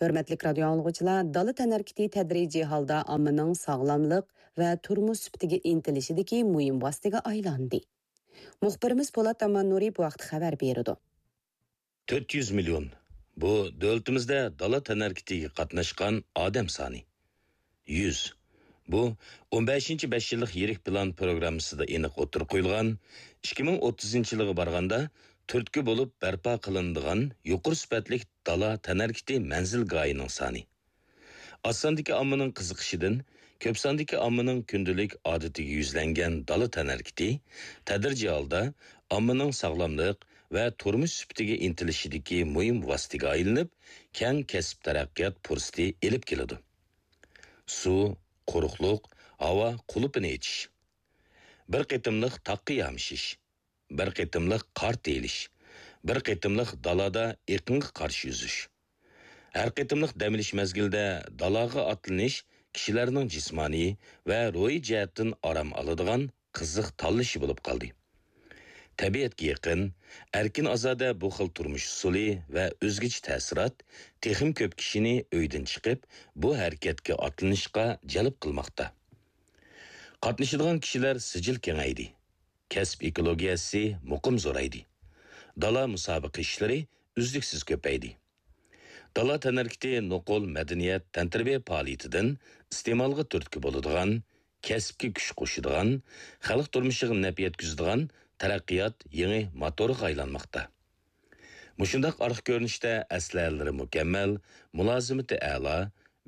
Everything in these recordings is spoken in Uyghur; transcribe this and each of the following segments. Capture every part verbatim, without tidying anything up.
ھۆرمەتلىك رادىيو ئاڭلىغۇچىلار، دالا تەنھەرىكىتى تەدرىجىي ھالدا ئاممىنىڭ ساغلاملىق ۋە تۇرمۇش سۈپىتىگە ئىنتىلىشىدىكى مۇھىم ۋاسىتىگە ئايلاندى. مۇخبىرىمىز پولات ئاماننۇرى بۇ ھەقتە خەۋەر بېرىدۇ. تۆت يۈز مىليون. بۇ دۆلىتىمىزدە دالا تەنھەرىكىتىگە قاتناشقان ئادەم سانى. يۈز. بۇ ئون بەشىنچى بەش يىللىق يىرىك پىلان پروگراممىسىدا ئېنىق ئوتتۇرىغا قويۇلغان، ئىككى مىڭ ئوتتۇزىنچى يىلغا بارغاندا تۈرتكە بولۇپ بەرپا قىلىنىدىغان يۇقىرى سۈپەتلىك دالا تەنھەرىكىتى مەنزىلگاھىنىڭ سانى. ئاز ساندىكى ئاممىنىڭ قىزىقىشىدىن كۆپ ساندىكى ئاممىنىڭ كۈندىلىك ئادىتىگە يۈزلەنگەن دالا تەنھەرىكىتى تەدرىجىي ھالدا ئاممىنىڭ ساغلاملىق ۋە تۇرمۇش سۈپىتىگە ئىنتىلىشىدىكى مۇھىم ۋاسىتىگە ئايلىنىپ، كەڭ كەسىپ تەرەققىيات پۇرسىتى ئېلىپ كېلىدۇ. سۇ، قۇرۇقلۇق، ھاۋا قۇلۇپىنى ئېچىش، بىر قېتىملىق تاغقا يامىشىش، بىر قېتىملىق قار تېيىلىش، بىر قېتىملىق دالادا ئېقىنغا قارشى ئۈزۈش. ھەر قېتىملىق دەم ئېلىش مەزگىلىدە دالاغا ئاتلىنىش كىشىلەرنىڭ جىسمانىي ۋە روھىي جەھەتتىن ئارام ئالىدىغان قىزىق تاللىشى بولۇپ قالدى. تەبىئەتكە يېقىن، ئەركىن-ئازادە بۇ خىل تۇرمۇش ئۇسۇلى ۋە ئۆزگىچە تەسىرات تېخىمۇ كۆپ كىشىنى ئۆيدىن چىقىپ، بۇ ھەرىكەتكە ئاتلىنىشقا جەلپ قىلماقتا. قاتنىشىدىغان كىشىلەر سىجىل كېڭەيدى. كەسىپ ئېكولوگىيەسى مۇقىم زورايدى. دالا مۇسابىقە ئىشلىرى ئۈزلۈكسىز كۆپەيدى. دالا تەنھەرىكىتى نوقۇل مەدەنىيەت، تەنتەربىيە پائالىيىتىدىن ئىستېمالغا تۈرتكە بولىدىغان، كەسىپكە كۈچ قوشىدىغان، خەلق تۇرمۇشىغا نەپ يەتكۈزىدىغان تەرەققىيات يېڭى موتورىغا ئايلانماقتا. مۇشۇنداق ئارقا كۆرۈنۈشتە ئەسلىھەلىرى مۇكەممەل، مۇلازىمىتى ئەلا،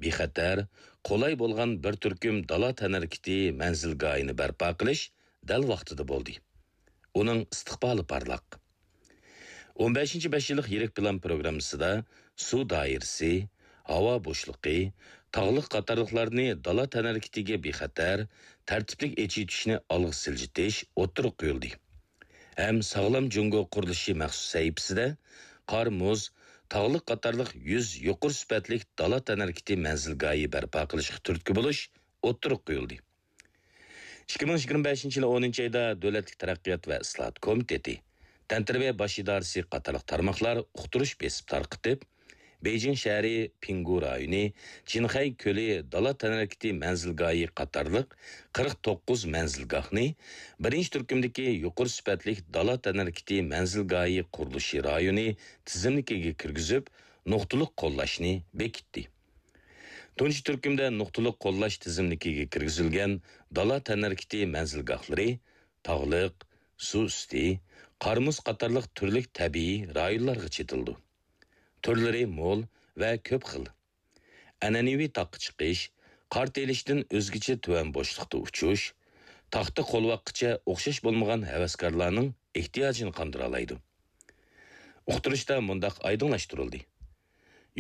بىخەتەر، قولاي بولغان بىر تۈركۈم دالا تەنھەرىكىتى مەنزىلگاھىنى بەرپا قىلىش دەل ۋاقتىدا بولدى. ئۇنىڭ ئىستىقبالى پارلاق. ئون بەشىنچى بەش يىللىق يىرىك پىلان پروگراممىسىدا سۇ دائىرىسى، ھاۋا بوشلۇقى، تاغلىق قاتارلىقلارنى دالا تەنھەرىكىتىگە بىخەتەر، تەرتىپلىك ئېچىۋېتىشنى ئالغا سىلجىتىش ئوتتۇرىغا قويۇلدى. ھەم ساغلام جۇڭگو قۇرۇلۇشى مەخسۇس سەھىپىسىدە قار، مۇز، تاغلىق قاتارلىق يۈز يۇقىرى سۈپەتلىك دالا تەنھەرىكىتى مەنزىلگاھى بەرپا قىلىشقا تۈرتكە بولۇش ئوتتۇرىغا قويۇلدى. ئىككى مىڭ يىگىرمە بەشىنچى يىلى ئونىنچى ئايدا دۆلەتلىك تەرەققىيات ۋە ئىسلاھات كومىتېتى، تەنتەربىيە باش ئىدارىسى قاتارلىق تارماقلار ئۇقتۇرۇش بېسىپ تارقىتىپ، بېيجىڭ شەھىرى پىڭگۇ رايونى، جىنخەي كۆلى دالا تەنھەرىكىتى مەنزىلگاھى قاتارلىق قىرىق توققۇز مەنزىلگاھنى بىرىنچى تۈركۈمدىكى يۇقىرى سۈپەتلىك دالا تەنھەرىكىتى مەنزىلگاھى قۇرۇلۇشى رايونى تىزىملىكىگە كىرگۈزۈپ، نۇقتىلىق قوللاشنى بېكىتتى. تۇنجى تۈركۈمدە نۇقتىلىق قوللاش تىزىملىكىگە كىرگۈزۈلگەن دالا تەنھەرىكىتى مەنزىلگاھلىرى تاغلىق، سۇ ئۈستى، قار-مۇز قاتارلىق تۈرلۈك تەبىئىي رايونلارغا چېتىلىدۇ. تۈرلىرى مول ۋە كۆپ خىل. ئەنئەنىۋى تاغقا چىقىش، قار تېيىلىشتىن ئۆزگىچە تۆۋەن بوشلۇقتا ئۇچۇش، تاغتا قولۋاققىچە ئوخشاش بولمىغان ھەۋەسكارلارنىڭ ئېھتىياجىنى قاندۇرالايدۇ. ئۇقتۇرۇشتا مۇنداق ئايدىڭلاشتۇرۇلدى: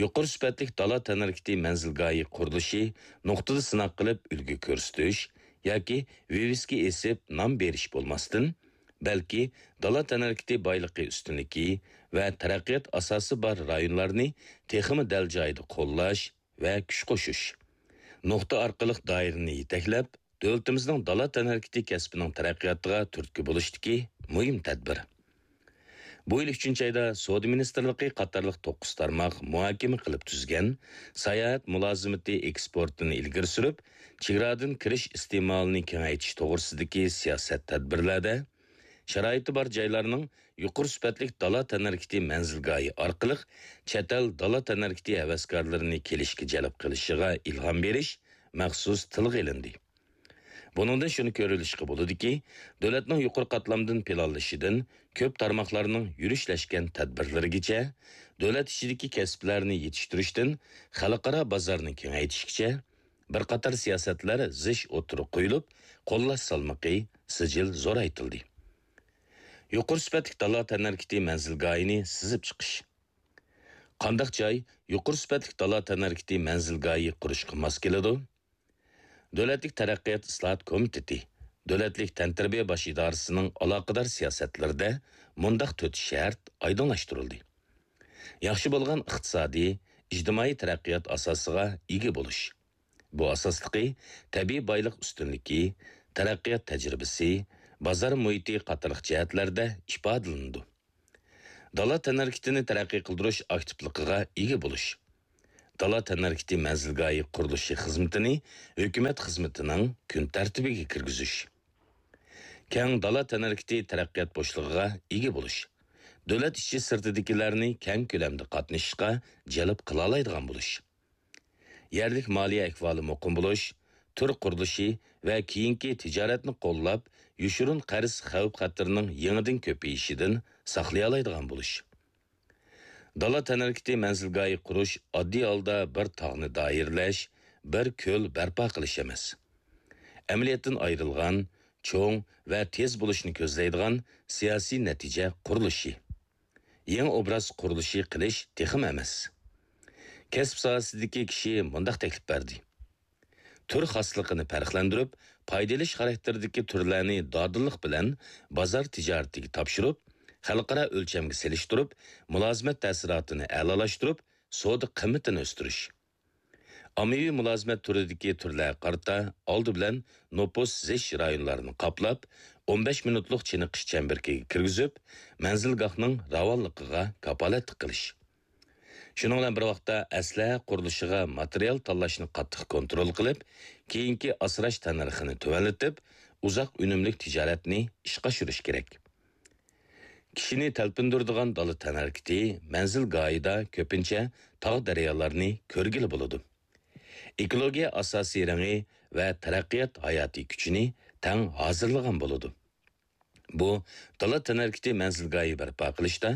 يۇقىرى سۈپەتلىك دالا تەنھەرىكىتى مەنزىلگاھى قۇرۇلۇشى نۇقتىدا سىناق قىلىپ ئۈلگە كۆرسىتىش ياكى ۋىۋىسكا ئېسىپ نام بېرىش بولماستىن، بەلكى دالا تەنھەرىكىتى بايلىقى ئۈستۈنلۈكى ۋە تەرەققىيات ئاساسى بار رايونلارنى تېخىمۇ دەل جايىدا قوللاش ۋە كۈچ قوشۇش، نۇقتا ئارقىلىق دائىرىنى يېتەكلەپ، دۆلىتىمىزنىڭ دالا تەنھەرىكىتى كەسپىنىڭ تەرەققىياتىغا تۈرتكە بولۇشتىكى مۇھىم تەدبىر. بۇ يىل ئۈچىنچى ئايدا سودا مىنىستىرلىقى قاتارلىق توققۇز تارماق مۇھاكىمە قىلىپ تۈزگەن ساياھەت مۇلازىمىتى ئېكسپورتىنى ئىلگىرى سۈرۈپ، چېگرادىن كىرىش ئىستېمالىنى كېڭەيتىش توغرىسىدىكى سىياسەت تەدبىرلەردە، شارائىتى بار جايلارنىڭ يۇقىرى سۈپەتلىك دالا تەنھەرىكىتى مەنزىلگاھى ئارقىلىق چەت ئەل دالا تەنھەرىكىتى ھەۋەسكارلىرىنى كېلىشكە جەلپ قىلىشىغا ئىلھام بېرىش مەخسۇس تىلغا ئېلىندى. بۇنىڭدىن شۇنى كۆرۈۋېلىشقا بولىدۇكى، دۆلەتنىڭ يۇقىرى قاتلامدىن پىلانلىشىدىن كۆپ تارماقلارنىڭ يۈرۈشلەشكەن تەدبىرلىرىگىچە، دۆلەت ئىچىدىكى كەسىپلەرنى يېتىشتۈرۈشتىن خەلقئارا بازارنى كېڭەيتىشكىچە، بىر قاتار سىياسەتلەر زىچ ئوتتۇرىغا قويۇلۇپ، قوللاش سالمىقى سىجىل زورايتىلدى. يۇقىرى سۈپەتلىك دالا تەنھەرىكىتى مەنزىلگاھىنى سىزىپ چىقىش. قانداق جاي يۇقىرى سۈپەتلىك دالا تەنھەرىكىتى مەنزىلگاھى قۇرۇشقا ماس كېلىدۇ؟ دۆلەتلىك تەرەققىيات ئىسلاھات كومىتېتى، دۆلەتلىك تەنتەربىيە باش ئىدارىسىنىڭ ئالاقىدار سىياسەتلىرىدە مۇنداق تۆت شەرت ئايدىڭلاشتۇرۇلدى: ياخشى بولغان ئىقتىسادىي، ئىجتىمائىي تەرەققىيات ئاساسىغا ئىگە بولۇش. بۇ ئاساسلىقى تەبىئىي بايلىق ئۈستۈنلۈكى، تەرەققىيات تەجرىبىسى، بازار مۇھىتى قاتارلىق جەھەتلەردە ئىپادىلىنىدۇ. دالا تەنھەرىكىتىنى تەرەققىي قىلدۇرۇش ئاكتىپلىقىغا ئىگە بولۇش. دالا تەنھەرىكىتى مەنزىلگاھى قۇرۇلۇشى خىزمىتىنى ھۆكۈمەت خىزمىتىنىڭ كۈن تەرتىپىگە كىرگۈزۈش. كەڭ دالا تەنھەرىكىتى تەرەققىيات بوشلۇقىغا ئىگە بولۇش. دۆلەت ئىچى سىرتىدىكىلەرنى كەڭ كۆلەمدە قاتنىشىشقا جەلپ قىلالايدىغان بولۇش. يەرلىك مالىيە ئەھۋالى مۇقىم بولۇش، تۈر قۇرۇلۇشى ۋە كېيىنكى تىجارەتنى قوللاپ، يوشۇرۇن قەرز خەۋپ-خەتىرىنىڭ يېڭىدىن كۆپىيىشىدىن ساقلىيالايدىغان بولۇش. دالا تەنھەرىكىتى مەنزىلگاھى قۇرۇش ئاددىي ھالدا بىر تاغنى دائىرىلەش، بىر كۆل بەرپا قىلىش ئەمەس. ئەمەلىيەتتىن ئايرىلغان، چوڭ ۋە تېز بولۇشنى كۆزلەيدىغان سىياسىي نەتىجە قۇرۇلۇشى. يېڭى ئوبراز قۇرۇلۇشى قىلىش تېخىمۇ ئەمەس. كەسىپ ساھەسىدىكى كىشى مۇنداق تەكلىپ بەردى. تۈر خاسلىقىنى پەرقلەندۈرۈپ، پايدا ئېلىش خاراكتېرىدىكى تۈرلەرنى دادىللىق بىلەن بازار تىجارىتىگە تاپشۇرۇپ، خەلقئارا ئۆلچەمگە سېلىشتۇرۇپ، مۇلازىمەت تەسىراتىنى ئەلالاشتۇرۇپ، سودا قىممىتىنى ئۆستۈرۈش. ئاممىۋى مۇلازىمەت تۈرىدىكى تۈرلەرگە قارىتا ئالدى بىلەن نوپۇس زىچ رايونلارنى قاپلاپ، ئون بەش مىنۇتلۇق چېنىقىش چەمبىرىكىگە كىرگۈزۈپ، مەنزىلگاھنىڭ راۋانلىقىغا كاپالەتلىك قىلىش. شۇنىڭ بىلەن بىر ۋاقىتتا، ئەسلىھە قۇرۇلۇشىغا ماتېرىيال تاللاشنى قاتتىق كونترول قىلىپ، كېيىنكى ئاسراش تەننەرخىنى تۆۋەنلىتىپ، ئۇزاق ئۈنۈملۈك تىجارەتنى ئىشقا ئاشۇرۇش كېرەك. كىشىنى تەلپۈندۈرىدىغان دالا تەنھەرىكىتى مەنزىلگاھىدا كۆپىنچە تاغ-دەريالارنى كۆرگىلى بولىدۇ. ئېكولوگىيە ئاساسىي رېڭى ۋە تەرەققىيات ھاياتىي كۈچىنى تەڭ ھازىرلىغان بولىدۇ. بۇ دالا تەنھەرىكىتى مەنزىلگاھى بەرپا قىلىشتا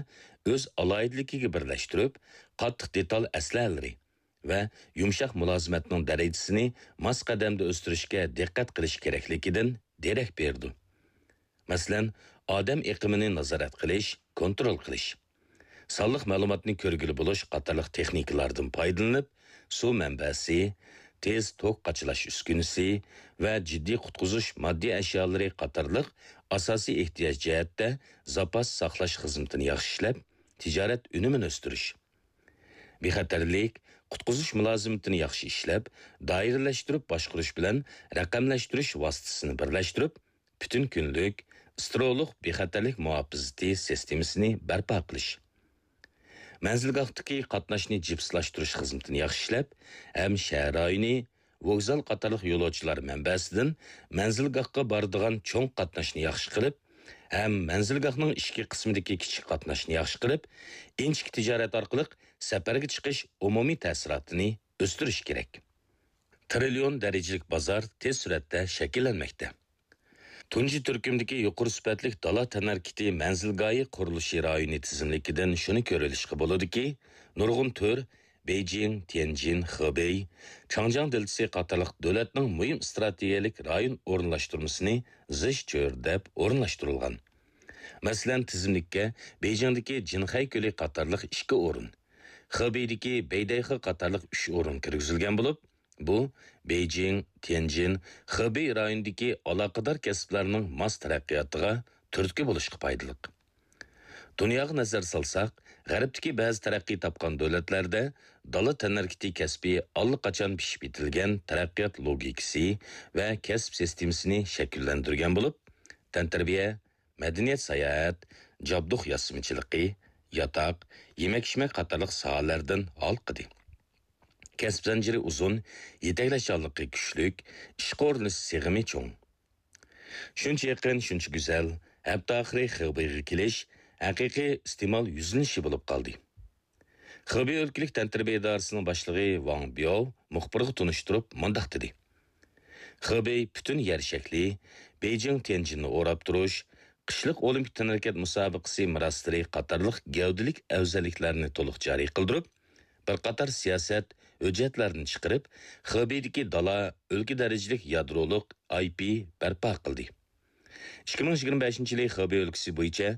ئۆز ئالاھىدىلىكىگە بىرلەشتۈرۈپ، قاتتىق دېتال ئەسلىھەلىرى ۋە يۇمشاق مۇلازىمەتنىڭ دەرىجىسىنى ماس قەدەمدە ئۆستۈرۈشكە دىققەت قىلىش كېرەكلىكىدىن دېرەك بېرىدۇ. مەسىلەن، ئادەم ئېقىمىنى نازارەت قىلىش، كونترول قىلىش، سانلىق مەلۇماتنى كۆرگىلى بولۇش قاتارلىق تېخنىكىلاردىن پايدىلىنىپ، سۇ مەنبەسى، تېز توك قاچىلاش ئۈسكۈنىسى ۋە جىددىي قۇتقۇزۇش ماددىي ئەشيالىرى قاتارلىق ئاساسىي ئېھتىياج جەھەتتە زاپاس ساقلاش خىزمىتىنى ياخشى ئىشلەپ، تىجارەت ئۈنۈمىنى ئۆستۈرۈش. بىخەتەرلىك، قۇتقۇزۇش مۇلازىمىتىنى ياخشى ئىشلەپ، دائىرىلەشتۈرۈپ باشقۇرۇش بىلەن رەقەملەشتۈرۈش ۋاسىتىسىنى بىرلەشتۈرۈپ، پۈتۈن كۈنلۈك، ئىسترولۇق بىخەتەرلىك مۇھاپىزىتى سىستېمىسىنى بەرپا قىلىش. مەنزىلگاھتىكى قاتناشنى جىپسلاشتۇرۇش خىزمىتىنى ياخشى ئىشلەپ، ھەم شەھەر رايونى، ۋوگزال قاتارلىق يولۇچىلار مەنبەسىدىن مەنزىلگاھقا بارىدىغان چوڭ قاتناشنى ياخشى قىلىپ، ھەم مەنزىلگاھنىڭ ئىچكى قىسمىدىكى كىچىك قاتناشنى ياخشى قىلىپ، ئىنچىكە تىجارەت ئارقىلىق سەپەرگە چىقىش ئومۇمىي تەسىراتىنى ئۆستۈرۈش كېرەك. تىرىليون دەرىجىلىك بازار تېز سۈرئەتتە شەكىللەنمەكتە. تۇنجى تۈركۈمدىكى يۇقىرى سۈپەتلىك دالا تەنھەرىكىتى مەنزىلگاھى قۇرۇلۇشى رايونى تىزىملىكىدىن شۇنى كۆرۈۋېلىشقا بولىدۇكى، نۇرغۇن تۈر بېيجىڭ، تيەنجىن، خېبېي، چاڭجياڭ دېلتىسى قاتارلىق دۆلەتنىڭ مۇھىم ئىستراتېگىيەلىك رايون ئورۇنلاشتۇرمىسىنى زىچ چۆرىدەپ ئورۇنلاشتۇرۇلغان. مەسىلەن، تىزىملىككە بېيجىڭدىكى جىنخەي كۆلى قاتارلىق ئىككى ئورۇن، خېبېيدىكى بەيدەيخې قاتارلىق ئۈچ ئورۇن كىرگۈزۈلگەن بولۇپ، بۇ بېيجىڭ، تيەنجىن، خېبېي رايونىدىكى ئالاقىدار كەسىپلەرنىڭ ماس تەرەققىياتىغا تۈرتكە بولۇشقا پايدىلىق. دۇنياغا نەزەر سالساق، غەربتىكى بەزى تەرەققىي تاپقان دۆلەتلەردە دالا تەنھەرىكىتى كەسپى ئاللىقاچان پىشىپ يېتىلگەن تەرەققىيات لوگىكىسى ۋە كەسىپ سىستېمىسىنى شەكىللەندۈرگەن بولۇپ، تەنتەربىيە، مەدەنىيەت ساياھەت، جابدۇق ياسىمىچىلىقى، ياتاق، يېمەك-ئىچمەك قاتارلىق ساھەلەردىن ھالقىدى. كەسىپ زەنجىرى ئۇزۇن، يېتەكلەشچانلىقى كۈچلۈك، ئىشقا ئورۇنلىشىش سىغىمى چوڭ. شۇنچە يېقىن، شۇنچە گۈزەل، ھەپتە ئاخىرى خېبېيغا كېلىش ھەقىقىي ئىستېمال يۈزلىنىشى بولۇپ قالدى. خېبېي ئۆلكىلىك تەنتەربىيە ئىدارىسىنىڭ باشلىقى ۋاڭ بياۋ مۇخبىرغا تونۇشتۇرۇپ مۇنداق دېدى: خېبېي پۈتۈن يەر شەكلى، بېيجىڭ تيەنجىننى ئوراپ تۇرۇش، قىشلىق ئولىمپىك تەنھەرىكەت مۇسابىقىسى مىراسلىرى قاتارلىق گەۋدىلىك ئەۋزەللىكلەرنى تولۇق جارى قىلدۇرۇپ، بىر قاتار سىياسەت، ھۆججەتلەرنى چىقىرىپ، خېبېيدىكى دالا ئۆلكە دەرىجىلىك يادرولۇق ئاي پى بەرپا قىلدى. ئىككى مىڭ يىگىرمە بەشىنچى يىلى خېبېي ئۆلكىسى بويىچە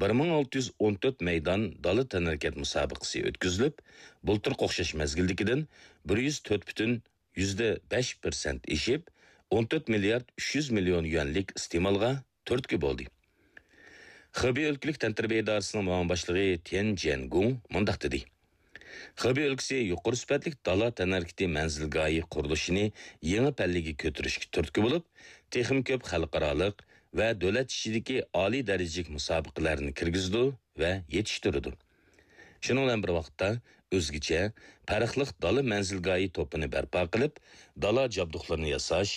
بىر مىڭ ئالتە يۈز ئون تۆت مەيدان دالا تەنھەرىكەت مۇسابىقىسى ئۆتكۈزۈلۈپ، بۇلتۇرقى ئوخشاش مەزگىلدىكىدىن بىر يۈز تۆت پۈتۈن يۈزدە بەش پىرسەنت ئېشىپ، ئون تۆت مىليارد ئۈچ يۈز مىليون يۈەنلىك ئىستېمالغا تۈرتكە بولدى. خېبېي ئۆلكىلىك تەنتەربىيە ئىدارىسىنىڭ مۇئاۋىن باشلىقى تيەن جيەنگۇڭ مۇنداق دېدى: خېبېي ئۆلكىسى يۇقىرى سۈپەتلىك دالا تەنھەرىكىتى مەنزىلگاھى قۇرۇلۇشىنى يېڭى پەللىگە كۆتۈرۈشكە تۈرتكە بولۇپ، تېخىمۇ كۆپ خەلقئارالىق ۋە دۆلەت ئىچىدىكى ئالىي دەرىجىلىك مۇسابىقىلەرنى كىرگۈزىدۇ ۋە يېتىشتۈرىدۇ. شۇنىڭ بىلەن بىر ۋاقىتتا، ئۆزگىچە، پەرقلىق دالا مەنزىلگاھى توپىنى بەرپا قىلىپ، دالا جابدۇقلىرىنى ياساش،